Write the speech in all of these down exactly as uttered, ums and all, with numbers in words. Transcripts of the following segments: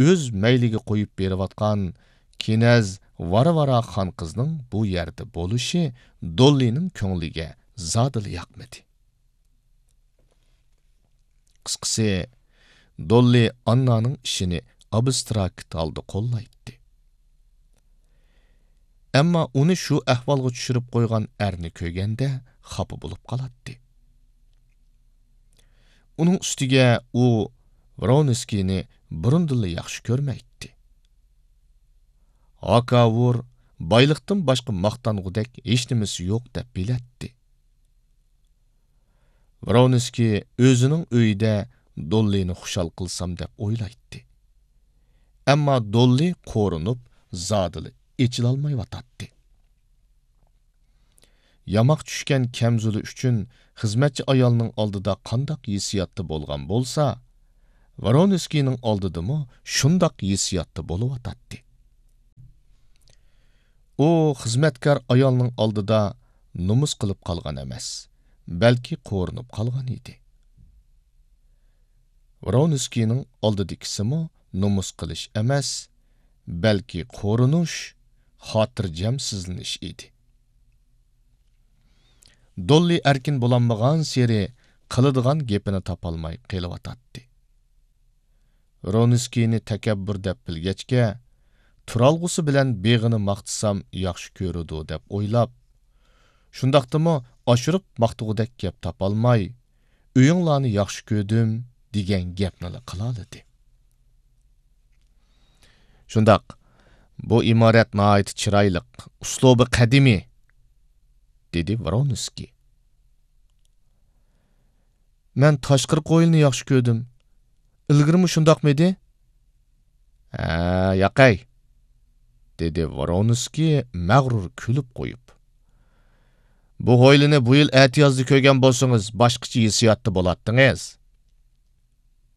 ئۆز مەيلىگە قويۇپ بېرىۋاتقان كىنەز ۋارۋارا خان قىزنىڭ بۇ يەردە بولۇشى دوللىنىڭ كۆڭلىگە زادىلا ياقمىدى. قىسقىسى، دوللى ئاننانىڭ ئىشىنى ئابستراكت ھالدا قوللايتتى. ئەمما ئۇنى شۇ ئەھۋالغا چۈشۈرۈپ قويغان ئەرنى كۆرگەندە خاپا بولۇپ قالاتتى. ئۇنىڭ ئۈستىگە ئۇ ۋرونسكىينى بۇرۇندىنلا ياخشى كۆرمەيتتى. ھاكاۋۇر بايلىقتىن باشقا ماختانغۇدەك ھېچنېمىسى يوق دەپ بىلەتتى. ۋرونسكىي ئۆزىنىڭ ئۆيىدە دوللىنى خۇشال قىلسام دەپ ئويلايتتى. ئەمما دوللى قورۇنۇپ زادىلا ئېچىلالمايۋاتاتتى. ياماق چۈشكەن كەمزۇلى ئۈچۈن خىزمەتچى ئايالنىڭ ئالدىدا قانداق ھېسسىياتتا بولغان بولسا، ۋرونسكىينىڭ ئالدىدىمۇ شۇنداق ھېسسىياتتا بولۇۋاتاتتى. ئۇ خىزمەتكار ئايالنىڭ ئالدىدا نومۇس قىلىپ قالغان ئەمەس، بەلكى قورۇنۇپ قالغان ئىدى. ۋرونسكىينىڭ ئالدىدىكىسىمۇ نومۇس قىلىش ئەمەس، بەلكى قورۇنۇش، خاتىرجەمسىزلىنىش ئىدى. دوللى ئەركىن بولالمىغانسېرى قىلىدىغان گېپىنى تاپالماي قېلىۋاتاتتى. ۋرونسكىينى تەكەببۇر دەپ بىلگەچكە، تۇرالغۇسى بىلەن بېغىنى ماختىسام ياخشى كۆرىدۇ دەپ ئويلاپ، شۇنداقتىمۇ ئاشۇرۇپ ماختىغۇدەك گەپ تاپالماي، «ئۆيۈڭلارنى ياخشى كۆردۈم» دېگەن گەپنىلا قىلالىدى. «شۇنداق، بۇ ئىمارەت ناھايىتى چىرايلىق، ئۇسلۇبى قەدىمىي»، دېدى ۋرونسكىي. «مەن تاشقىرىقى ھويلىنى ياخشى كۆردۈم. ئىلگىرىمۇ شۇنداقمىدى؟» «ھە، ياقەي»، دېدى ۋرونسكىي مەغرۇر كۈلۈپ قويۇپ. «بۇ ھويلىنى بۇ يىل ئەتىيازدا كۆرگەن بولسىڭىز، باشقىچە ھېسسىياتتا بولاتتىڭىز.»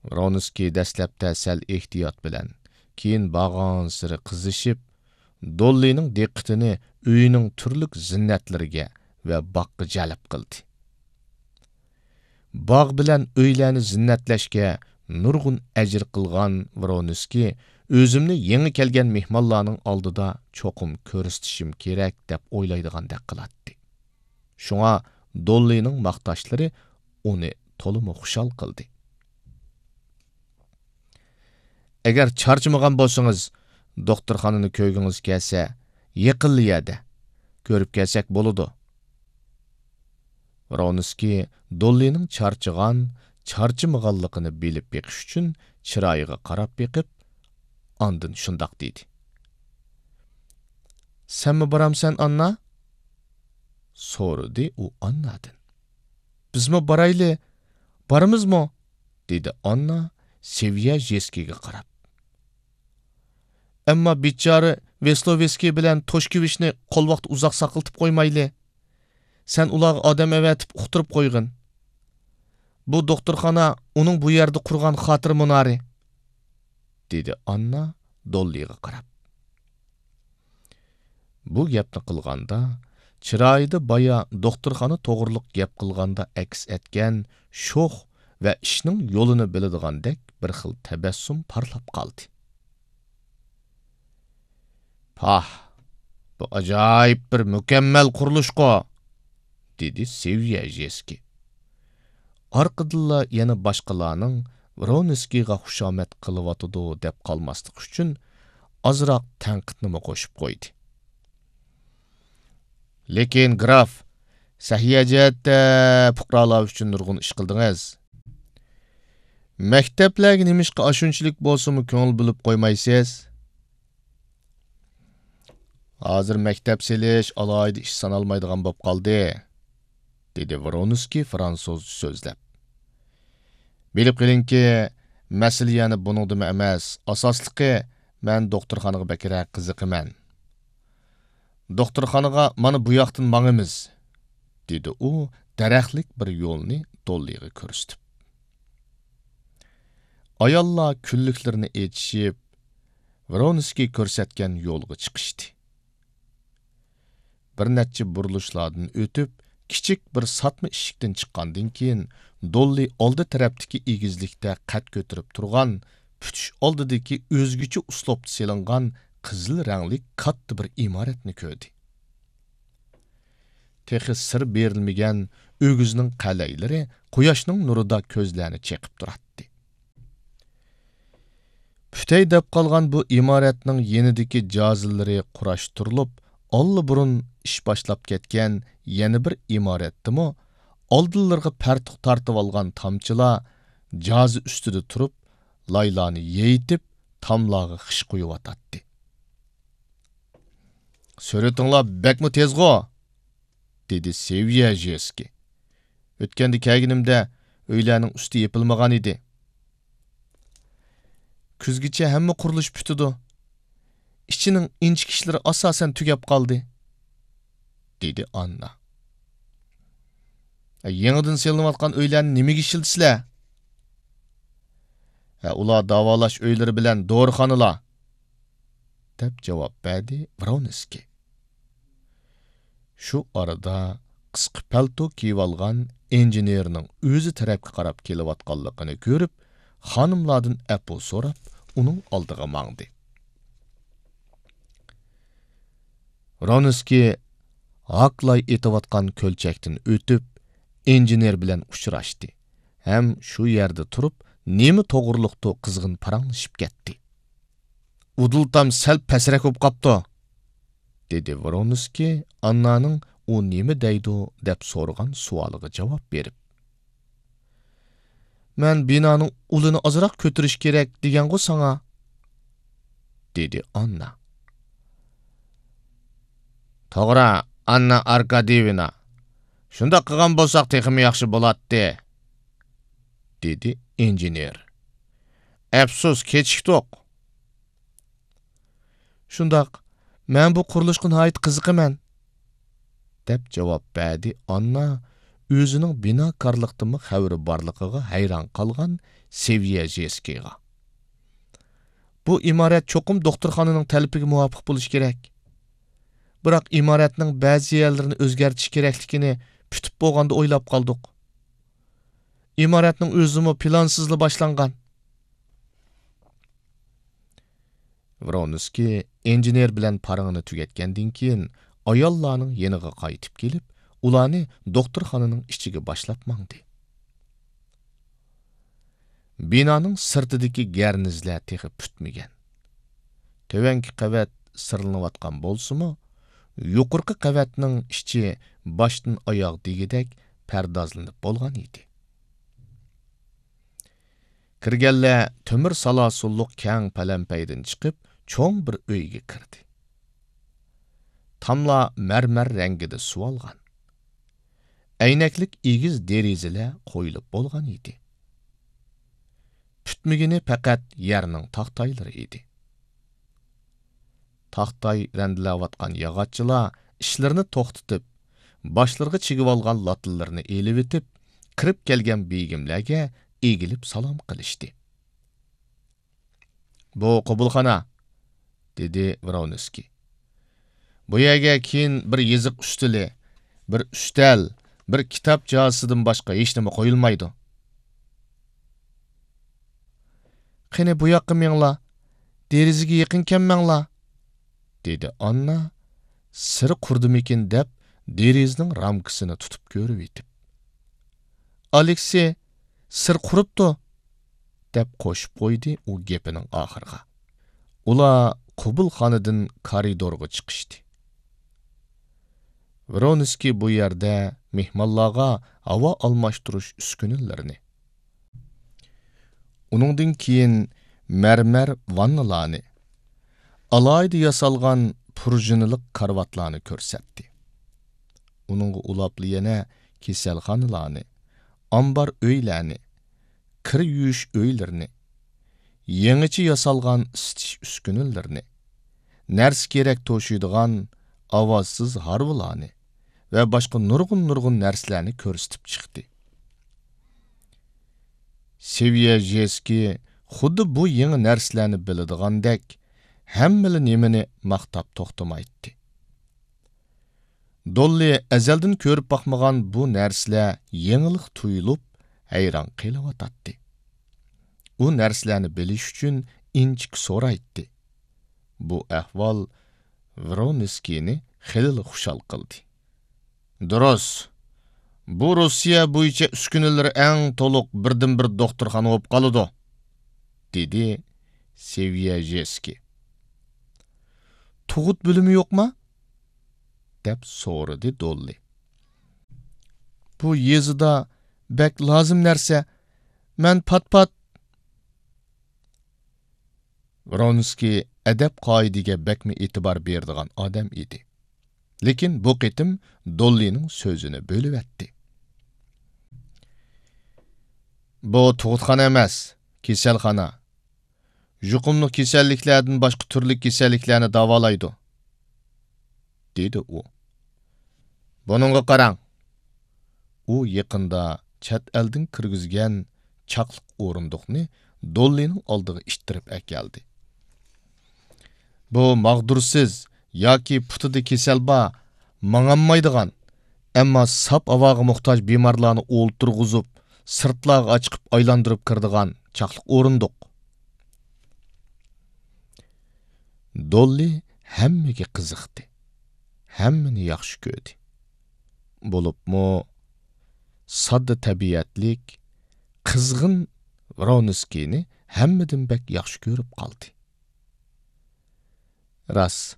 ۋرونسكىي دەسلەپتە سەل ئېھتىيات بىلەن، كېيىن بارغانسېرى قىزىشىپ، دوللىنىڭ دىققىتىنى ئۆيىنىڭ تۈرلۈك زىننەتلىرىگە ۋە باغقا جەلپ قىلدى. باغ بىلەن ئۆيلەرنى زىننەتلەشكە نۇرغۇن ئەجىر قىلغان ۋرونسكىي، «ئۆزۈمنى يېڭى كەلگەن مېھمانلارنىڭ ئالدىدا چوقۇم كۆرسىتىشىم كېرەك» دەپ ئويلايدىغاندەك قىلاتتى. شۇڭا دوللىنىڭ ماختاشلىرى ئۇنى تولىمۇ خۇشال قىلدى. «ئەگەر چارچىمىغان بولسىڭىز، دوختۇرخانىنى كۆرگۈڭىز كەلسە، يېقىنلا يەردە، كۆرۈپ كەلسەك بولىدۇ.» ۋرونسكىي دوللىنىڭ چارچىغان، چارچىمىغانلىقىنى بىلىپ بېقىش ئۈچۈن چىرايىغا قاراپ بېقىپ، ئاندىن شۇنداق دېدى. «سەنمۇ بارامسەن، ئاننا؟» سورىدى ئۇ ئاننادىن. «بىزمۇ بارايلى، بارىمىزمۇ؟» دېدى ئاننا سېۋيەژېسكىيگە قاراپ. «ئەمما بىچارە ۋېسلوۋېسكىي بىلەن توشكېۋىچنى قولۋاقتا ئۇزاق ساقلىتىپ قويمايلى. سەن ئۇلارغا ئادەم ئەۋەتىپ ئۇقتۇرۇپ قويغىن. بۇ دوختۇرخانا ئۇنىڭ بۇ يەردە قۇرغان خاتىرە مۇنارى»، دېدى ئاننا دوللىغا قاراپ. بۇ گەپنى قىلغاندا، چىرايىدا بايا دوختۇرخانا توغرۇلۇق گەپ قىلغاندا ئەكس ئەتكەن شوخ ۋە ئىشنىڭ يولىنى بىلىدىغاندەك بىر خىل تەبەسسۇم پارلاپ قالدى. «پاھ، بۇ ئاجايىپ بىر مۇكەممەل قۇرۇلۇشقۇ!» دېدى سېۋيەژېسكىي. ئارقىدىنلا يەنە باشقىلارنىڭ ۋرونسكىيغا خۇشامەت قىلىۋاتىدۇ دەپ قالماسلىق ئۈچۈن ئازراق تەنقىدنىمۇ قوشۇپ قويدى. «لېكىن، گراف، سەھىيە جەھەتتە پۇقرالار ئۈچۈن نۇرغۇن ئىش قىلدىڭىز. مەكتەپلەرگە نېمىشقا ئاشۇنچىلىك بولسىمۇ كۆڭۈل بۆلۈپ قويمايسىز؟» «ھازىر مەكتەپ سېلىش ئالاھىدە ئىش سانالمايدىغان بولۇپ قالدى»، دېدى ۋرونسكىي فرانسۇزچە سۆزلەپ. «بىلىپ قېلىڭكى، مەسىلە يەنە بۇنىڭدىمۇ ئەمەس، ئاساسلىقى مەن دوختۇرخانىغا بەكرەك قىزىقىمەن. دوختۇرخانىغا مانا بۇ ياقتىن ماڭىمىز»، دېدى ئۇ دەرەخلىك بىر يولنى دوللىغا كۆرسىتىپ. ئاياللار كۈنلۈكلىرىنى ئېچىشىپ، ۋرونسكىي كۆرسەتكەن يولغا چىقىشتى. بىر نەچچە بۇرۇلۇشلاردىن ئۆتۈپ، كىچىك بىر ساتما ئىشىكتىن چىققاندىن كېيىن، دوللى ئالدى تەرەپتىكى ئېگىزلىكتە قەد كۆتۈرۈپ تۇرغان پۈتۈش ئالدىدىكى ئۆزگىچە ئۇسلۇبتا سېلىنغان قىزىل رەڭلىك كاتتا بىر ئىمارەتنى كۆردى. تېخى سىر بېرىلمىگەن ئۆگزىنىڭ قەلەيلىرى قۇياشنىڭ نۇرىدا كۆزلەرنى چېقىپ تۇراتتى. پۈتەي دەپ قالغان بۇ ئىمارەتنىڭ يېنىدىكى جازىلىرى قۇراشتۇرۇلۇپ، ئاللىبۇرۇن ئىش باشلاپ كەتكەن يەنە بىر ئىمارەتتىمۇ ئالدىلىرىغا پەرتۇق تارتىۋالغان تامچىلار جازا ئۈستىدە تۇرۇپ، لايلارنى يېيىتىپ، تاملارغا خىش قۇيۇۋاتاتتى. «سۈرئىتىڭلار بەكمۇ تېزغۇ!» دېدى سېۋيەژېسكىي. «ئۆتكەندە كەلگىنىمدە ئۆيلەرنىڭ ئۈستى يېپىلمىغان ئىدى.» «كۈزگىچە ھەممە قۇرۇلۇش پۈتىدۇ. ئىچىنىڭ ئىنچىكە ئىشلىرى ئاساسەن تۈگەپ قالدى.» دېدى ئاننا. «يېڭىدىن سېلىنىۋاتقان ئۆيلەرنى نېمىگە ئىشلىتىسىلەر؟» «ھە، ئۇلار داۋالاش ئۆيلىرى بىلەن دورىخانىلار.» دەپ جاۋاب بەردى ۋرونسكىي. شۇ ئارىدا قىسقا پەلتو كىيىۋالغان ئىنژېنېرنىڭ ئۆزى تەرەپكە قاراپ كېلىۋاتقانلىقىنى كۆرۈپ، خانىملاردىن ئەپۇ سوراپ، ئۇنىڭ ئالدىغا ماڭدى. ۋرونسكىي ھاكلاي ئېتىۋاتقان كۆلچەكتىن ئۆتۈپ، ئىنژېنېر بىلەن ئۇچراشتى ھەم شۇ يەردە تۇرۇپ، نېمە توغرۇلۇقتۇ قىزغىن پاراڭلىشىپ كەتتى. «ئۇدۇل تام سەل پەسرەك بولۇپ قاپتۇ»، دېدى ۋرونسكىي ئاننانىڭ ئۇ نېمە دەيدۇ دەپ سورىغان سوئالىغا جاۋاب بېرىپ. «مەن بىنانىڭ ئۇلىنى ئازراق كۆتۈرۈش كېرەك دېگەنغۇ ساڭا؟» دېدى ئاننا. «توغرا، ئاننا ئاركاديېۋنا. شۇنداق قىلغان بولساق تېخىمۇ ياخشى بولاتتى»، دېدى ئىنژېنېر. «ئەپسۇس، كېچىكتۇق.» «شۇنداق، مەن بۇ قۇرۇلۇشقا ناھايىتى قىزىقىمەن»، دەپ جاۋاب بەردى ئاننا ئۆزىنىڭ بىناكارلىقتىنمۇ خەۋىرى بارلىقىغا ھەيران قالغان سېۋيەژېسكىيغا. «بۇ ئىمارەت چوقۇم دوختۇرخانىنىڭ تەلىپىگە مۇۋاپىق بولۇشى كېرەك. بىراق ئىمارەتنىڭ بەزى يەرلىرىنى ئۆزگەرتىش كېرەكلىكىنى پۈتۈپ بولغاندا ئويلاپ قالدۇق. ئىمارەتنىڭ ئۆزىمۇ پىلانسىزلا باشلانغان.» ۋرونسكىي ئىنژېنېر بىلەن پاراڭىنى تۈگەتكەندىن كېيىن، ئاياللارنىڭ يېنىغا قايتىپ كېلىپ، ئۇلارنى دوختۇرخانىنىڭ ئىچىگە باشلاپ ماڭدى. بىنانىڭ سىرتىدىكى گەرنىزلەر تېخى پۈتمىگەن. تۆۋەنكى قەۋەت سىرلىنىۋاتقان بولسىمۇ، يۇقىرىقى قەۋەتنىڭ ئىچى باشتىن ئاياغ دېگۈدەك پەردازلىنىپ بولغان ئىدى. كىرگەنلەر تۆمۈر سالاسۇنلۇق كەڭ پەلەمپەيدىن چىقىپ، چوڭ بىر ئۆيگە كىردى. تاملار مەرمەر رەڭگىدە سۇۋالغان. ئەينەكلىك ئېگىز دېرىزىلەر قويۇلۇپ بولغان ئىدى. پۈتمىگىنى پەقەت يەرنىڭ تاختايلىرى ئىدى. تاختاي رەندىلەۋاتقان ياغاچچىلار ئىشلىرىنى توختىتىپ، باشلىرىغا چىگىۋالغان لاتىلىرىنى ئېلىۋېتىپ، كىرىپ كەلگەن بېگىملەرگە ئېگىلىپ سالام قىلىشتى. «بۇ قوبۇلخانا»، دېدى ۋرونسكىي. «بۇ يەرگە كېيىن بىر يېزىق ئۈستىلى، بىر ئۈستەل، بىر كىتاب جازىسىدىن باشقا ھېچنېمە قويۇلمايدۇ.» «قېنى، بۇ ياققا مېڭىڭلار، دېرىزىگە يېقىن كەلمەڭلار»، دېدى ئاننا سىر قۇرىدىمىكىن دەپ، دېرىزىنىڭ رامكىسىنى تۇتۇپ كۆرۈۋېتىپ. «ئالېكسېي، سىر قۇرۇپتۇ!» دەپ قوشۇپ قويدى ئۇ گېپىنىڭ ئاخىرىغا. ئۇلار قوبۇلخانىدىن كارىدورغا چىقىشتى. ۋرونسكىي بۇ يەردە مېھمانلارغا ھاۋا ئالماشتۇرۇش ئۈسكۈنىلىرىنى، ئۇنىڭدىن كېيىن مەرمەر ۋاننىلارنى، ئالاھىدە ياسالغان پۇرژىنىلىق كارىۋاتلارنى كۆرسەتتى. ئۇنىڭغا ئۇلاپلا يەنە كېسەلخانىلارنى، ئامبار ئۆيلەرنى، كىر يۇيۇش ئۆيلىرىنى، يېڭىچە ياسالغان ئىسىتىش ئۈسكۈنىلىرىنى، نەرسە-كېرەك توشۇيدىغان ئاۋازسىز ھارۋىلارنى ۋە باشقا نۇرغۇن-نۇرغۇن نەرسىلەرنى كۆرسىتىپ چىقتى. سېۋيەژېسكىي خۇددى بۇ يېڭى نەرسىلەرنى بىلىدىغاندەك، ھەممىلا نېمىنى ماختاپ توختىمايتتى. دوللى ئەزەلدىن كۆرۈپ باقمىغان بۇ نەرسىلەر يېڭىلىق تۇيۇلۇپ، ھەيران قېلىۋاتاتتى. بۇ نەرسىلەرنى بىلىش ئۈچۈن ئىنچىكە سورايتتى. بۇ ئەھۋال ۋرونسكىينى خېلىلا خۇشال قىلدى. دۇرۇس، بۇ روسىيە بويىچە ئۈسكۈنىلىرى ئەڭ تولۇق بىردىنبىر دوختۇرخانا بولۇپ قالىدۇ، دېدى سېۋيەژېسكىي. تۇغۇت بۆلۈمى يوقما؟ دەپ سورىدى دوللى. بۇ يېزىدا بەك لازىم نەرسە. مەن پات-پات. ۋرونسكىي ئەدەپ-قائىدىگە بەكمۇ ئېتىبار بېرىدىغان ئادەم ئىدى. لېكىن بۇ قېتىم دوللىنىڭ سۆزىنى بۆلۈۋەتتى. بۇ تۇغۇتخانا ئەمەس، كېسەلخانا. يۇقۇملۇق كېسەللىكلەردىن باشقا تۈرلۈك كېسەللىكلەرنى داۋالايدۇ، دېدى ئۇ. بۇنىڭغا قاراڭ. ئۇ يېقىندا چەت ئەلدىن كىرگۈزگەن چاقلىق ئورۇندۇقنى دوللىنىڭ ئالدىغا ئىتتىرىپ ئەكەلدى. بۇ ماغدۇرسىز ياكى پۇتىدا كېسەل بار، ماڭالمايدىغان، ئەمما ساپ ھاۋاغا موھتاج بىمارلارنى ئولتۇرغۇزۇپ، سىرتلارغا چىقىپ ئايلاندۇرۇپ كىرىدىغان چاقلىق ئورۇندۇق. دوللى ھەممىگە قىزىقتى، ھەممىنى ياخشى كۆردى. بولۇپمۇ ساددا تەبىئەتلىك، قىزغىن ۋرونسكىينى ھەممىدىن بەك ياخشى كۆرۈپ قالدى. راست،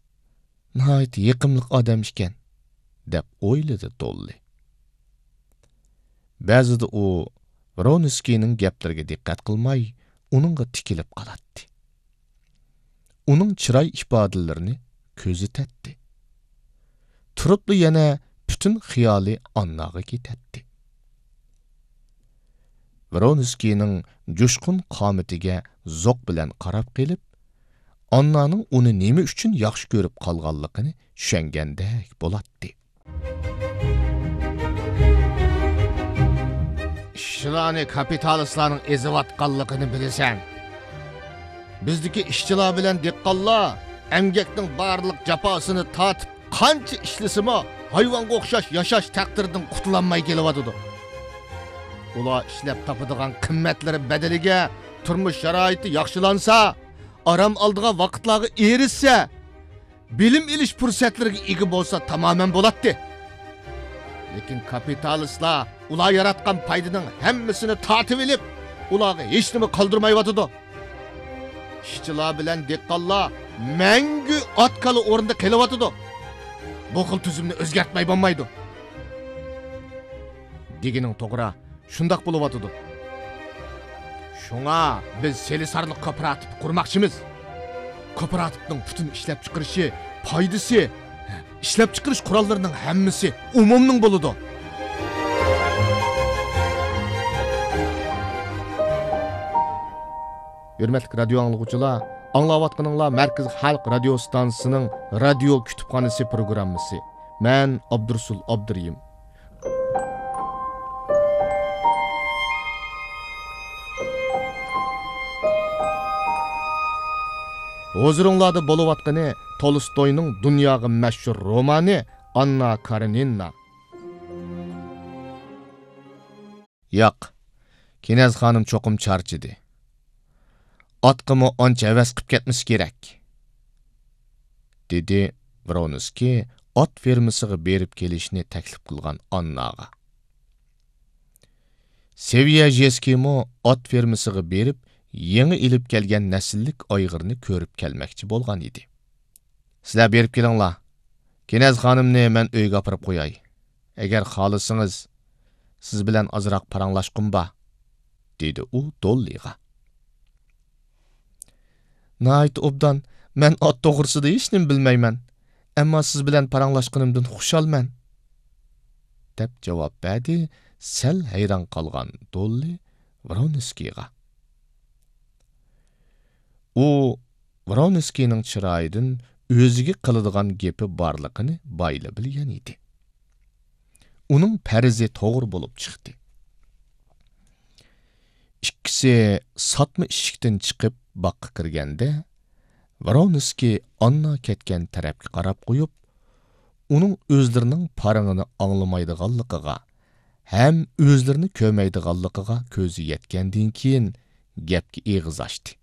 ناھايىتى يېقىملىق ئادەم ئىكەن، دەپ ئويلىدى دوللى. بەزىدە ئۇ ۋرونسكىينىڭ گەپلىرىگە دىققەت قىلماي، ئۇنىڭغا تىكىلىپ قالاتتى. ئۇنىڭ چىراي ئىپادىلىرىنى كۆزىتەتتى. تۇرۇپلا يەنە پۈتۈن خىيالى ئانناغا كېتەتتى. ۋرونسكىينىڭ جۇشقۇن قامىتىگە زوق بىلەن قاراپ قېلىپ، ئاننانىڭ ئۇنى نېمە ئۈچۈن ياخشى كۆرۈپ قالغانلىقىنى چۈشەنگەندەك بولاتتى. ئىشچىلارنى كاپىتالىستلارنىڭ ئېزىۋاتقانلىقىنى بىلىسەن. بىزدىكى ئىشچىلار بىلەن دېھقانلار ئەمگەكنىڭ بارلىق جاپاسىنى تارتىپ، قانچە ئىشلىسىمۇ، ھايۋانغا ئوخشاش ياشاش تەقدىرىدىن قۇتۇلالماي كېلىۋاتىدۇ. ئۇلار ئىشلەپ تاپىدىغان قىممەتلىرى بەدىلىگە تۇرمۇش شارائىتى ياخشىلانسا، ئارام ئالىدىغان ۋاقىتلارغا ئېرىشسە، بىلىم ئېلىش پۇرسەتلىرىگە ئىگە بولسا تامامەن بولاتتى. لېكىن كاپىتالىستلار ئۇلار ياراتقان پايدىنىڭ ھەممىسىنى تارتىۋېلىپ، ئۇلارغا ھېچنېمە قالدۇرمايۋاتىدۇ. ئىشچىلار بىلەن دېھقانلار مەڭگۈ ئات-كالا ئورنىدا قېلىۋاتىدۇ. بۇ خىل تۈزۈمنى ئۆزگەرتمەي بولمايدۇ. دېگىنىڭ توغرا، شۇنداق بولۇۋاتىدۇ. شۇڭا بىز سېلىسارلىق كوپىراتىپى قۇرماقچىمىز. كوپىراتىپنىڭ پۈتۈن ئىشلەپچىقىرىشى، پايدىسى، ئىشلەپچىقىرىش قوراللىرىنىڭ ھەممىسى ئومۇمنىڭ بولىدۇ. ھۆرمەتلىك رادىيو ئاڭلىغۇچىلار، ئاڭلاۋاتقىنىڭلار مەركىزىي خەلق رادىيو ستانسىسىنىڭ رادىيو كۇتۇپخانىسى پروگراممىسى. مەن ئابدۇرۇسۇل ئابدۇرېھىم. ھۇزۇرۇڭلاردا بولۇۋاتقىنى تولستوينىڭ دۇنياغا مەشھۇر رومانى ئاننا كارېنىنا. ياق، كېنەز خانىم چوقۇم چارچىدى. ئاتقىمۇ ئانچە ھەۋەس قىپ كەتمىسە كېرەك، دېدى ۋرونسكىي ئات فېرمىسىغا بېرىپ كېلىشنى تەكلىپ قىلغان ئانناغا. سېۋيەژېسكىيمۇ ئات فېرمىسىغا بېرىپ، يېڭى ئېلىپ كەلگەن نەسىللىك ئايغىرنى كۆرۈپ كەلمەكچى بولغان ئىدى. سىلەر بېرىپ كېلىڭلار. كېنەز خانىمنى مەن ئۆيگە ئاپىرىپ قوياي. ئەگەر خالىسىڭىز، سىز بىلەن ئازراق پاراڭلاشقۇم بار، دېدى ئۇ دوللىغا. ناھايىتى ئوبدان، مەن ئات توغرىسىدا ھېچنېمە بىلمەيمەن، ئەمما سىز بىلەن پاراڭلاشقىنىمدىن خۇشالمەن، دەپ جاۋاب بەردى سەل ھەيران قالغان دوللى ۋرونسكىيغا. ئۇ ۋرونسكىينىڭ چىرايىدىن ئۆزىگە قىلىدىغان گېپى بارلىقىنى بايىلا بىلگەن ئىدى. ئۇنىڭ پەرىزى توغرا بولۇپ چىقتى. ئىككىسى ساتما ئىشىكتىن چىقىپ باغقا كىرگەندە، ۋرونسكىي ئاننا كەتكەن تەرەپكە قاراپ قويۇپ، ئۇنىڭ ئۆزلىرىنىڭ پارىڭىنى ئاڭلىمايدىغانلىقىغا ھەم ئۆزلىرىنى كۆرمەيدىغانلىقىغا كۆزى يەتكەندىن كېيىن، گەپكە ئېغىز ئاچتى.